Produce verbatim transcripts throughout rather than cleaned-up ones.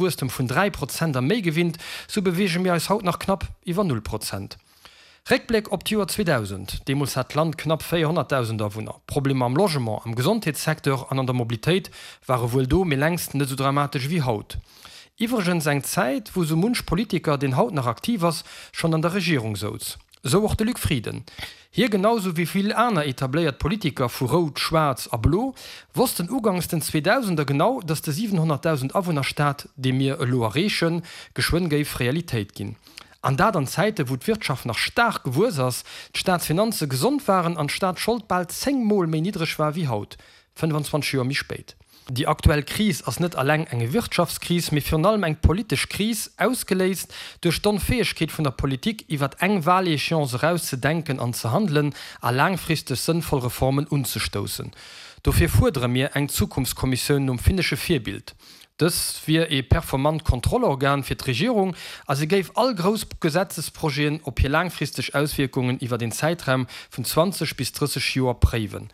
Wuesstem vun dräi Prozent a méi gewinnt, sou beweege mir eis haut nach knapp iwwer null Prozent. Réckbléck op d'Joer zweedausend, Deemools hat d'Land knapp véierhonnertdausend Awunner. Problemer am Logement, am Gesondheetssecteur an an der Mobilitéit ware wuel do, mee längst net sou dramatesch ewéi haut. Iwwregens eng Zäit, wou sou munch Politiker, deen haut nach aktiv ass, schonn an der Regierung souz. Esou och de Luc Frieden. Hie, genau sou wéi vill aner etabléiert Politiker vu Rout, Schwaarz a Blo, wossten ugangs den Zweedausender genau, datt de siwenhonnertdausend Awunner-Staat, dee mir elo erreechen, geschwënn géif Realitéit ginn. An dat an Zäite wou d'Wirtschaft nach staark gewuess ass, d'Staatsfinanze gesond waren an d'Staatsschold bal zéng Mol méi niddreg war wéi haut, fënnfanzwanzeg Joer méi spéit. Déi aktuell Kris ass net alleng eng Wirtschaftskris, mee virun allem eng politesch Kris, ausgeléist duerch d'Onfäegkeet vun der Politik, iwwert eng Wahléchéance eraus ze denken an ze handelen a laangfristeg sënnvoll Reformen unzestoussen. Dofir fuerdere mir eng Zukunftskommissioun nom finnesche Virbild. Dës wier ee performant Kontrollorgan fir d'Regierung a se géif all grouss Gesetzesprojeten op hir laangfristeg Auswierkungen iwwert een Zäitraum vun zwanzeg bis drësseg Joer préiwen.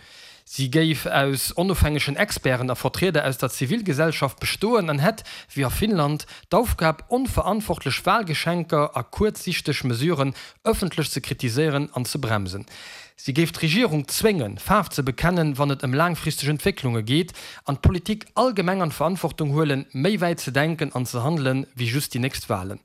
Si géif aus onofhängegen Experten a Vertrieder aus der Zivilgesellschaft bestoen an hätt, wéi a Finnland, d'Aufgab, onverantwortlech Wahlgeschenker a kuerzsichteg Mesuren ëffentlech ze kritiséieren an ze bremsen. Si géif d'Regierung zwéngen, Faarf ze bekennen, wann et ëm laangfristeg Entwécklunge geet, an d'Politik allgemeng an d'Verantwortung huelen, méi wäit ze denken an ze handelen, wéi just déi nächst Wahlen.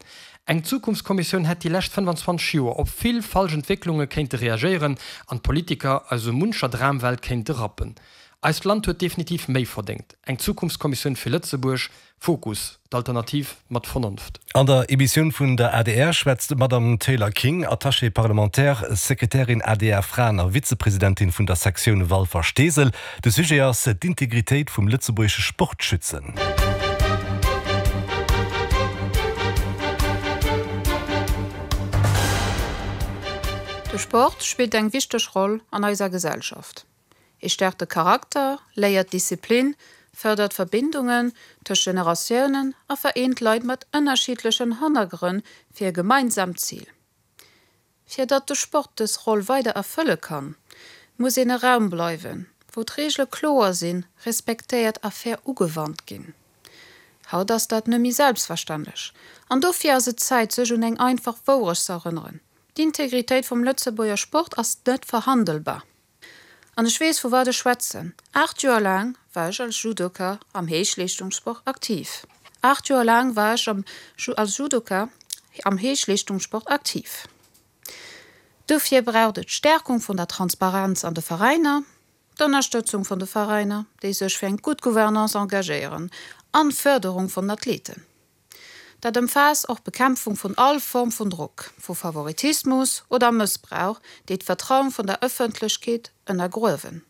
Eng Zukunftskommissioun hätt déi lescht fënnfanzwanzeg Joer op vill falsch Entwécklunge kéinte reagéieren an d'Politiker aus esou muncher Dramwelt kéinte rappen. Eist Land huet definitiv méi verdéngt. Eng Zukunftskommissioun fir Lëtzebuerg. Fokus, d'Alternativ mat Vernonft. An der Emissioun vun der adr schwätzt d'Madame Taylor King, Attachée parlementaire, Sekretärin adr Fraen a Vizepresidentin vun der Sektioun Walfer-Steesel. De Sujet ass d'Integritéit vum lëtzebuergesche Sport schützen. De Sport spillt eng wichteg Roll an eiser Gesellschaft. E stäerkt de Charakter, léiert Disziplin, fërdert Verbindungen tëscht Generatiounen a vereent Leit mat ënnerschiddlechen Hannergrënn fir e gemeinsaamt Zil. Fir datt de Sport dës Roll weider erfëlle kann, muss en e Raum bleiwen, wou d'Reegele kloer sinn, respektéiert a fair ugewannt ginn. Haut ass dat net méi selbstverständlech, an dofir ass et Zäit, sech un eng einfach Wourecht ze erënneren, D'Integritéit vum Lëtzebuerger Sport ass net verhandelbar. An ech weess, vu wat ech schwätzen. Aacht Joer laang war ech als Judoka am Héichleeschtungssport aktiv. Aacht Joer laang war ech als Judoka am Héichleeschtungssport aktiv. Dofir braucht et d'Stärkung vun der Transparenz an de Veräiner, d'Ënnerstëtzung vun de Veräiner, déi sech fir eng gutt Gouvernance engagéieren, an d'Fërderung vun den Athleten. Dat ëmfaasst och d'Bekämpfung vun all Form vun Drock, vu Favoritismus oder Mëssbrauch, déi d'Vertrauen vun der Ëffentlechkeet ënnergruewen.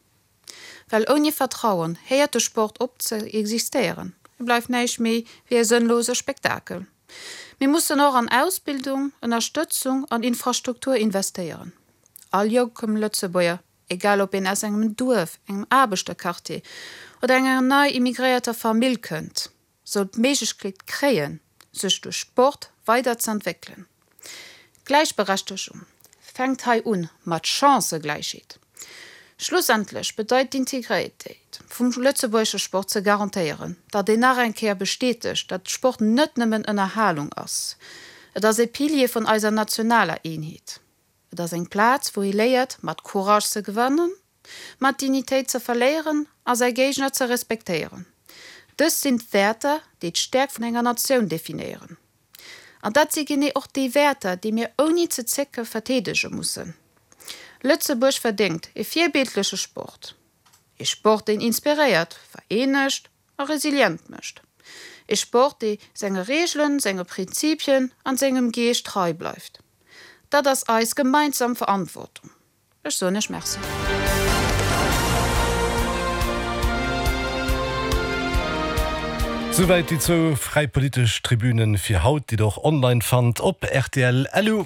Well ouni Vertrauen héiert de Sport op ze existéieren, e bleift näischt méi wéi e sënnlose Spektakel. Mir mussen och an Ausbildung, Ënnerstëtzung an Infrastruktur investéieren. All jonkem Lëtzebuerger, egal ob een aus engem Duerf, engem Aarbechterquartier oder enger nei immigréierter Famill kënnt, soll d'Méiglechkeet kréien, sech duerch Sport weider z'entwéckelen. Gläichberechtegung fänkt hei un mat Chancëgläichheet. Schlussendlech bedeit d'Integritéit vum lëtzebuergesche Sport ze garantéieren, datt een nach eng Kéier bestätegt, datt Sport net nëmmen Ënnerhalung ass. Et ass e Pilier vun eiser nationaler Eenheet. Et ass eng Plaz, wou ee léiert, mat Courage ze gewannen, mat Dignitéit ze verléieren a säi Géigner ze respektéieren. Dës sinn d'Wäerter, déi d'Stäerkt vun enger Natioun definéieren. An dat si genee och déi Wäerter, déi mir ouni ze zécke verteedege mussen. Lëtzebuerg verdéngt e virbildleche Sport. E Sport, deen inspiréiert, vereenegt a resilient mécht. E Sport, dee senge Reegelen, senge Prinzipien an sengem Geescht trei bleift. Dat ass eis gemeinsam Verantwortung. Ech soen Iech Merci. Souwäit déi zwou fräi politesch Tribünen fir haut, déi der och online fannt op rtl. Lu.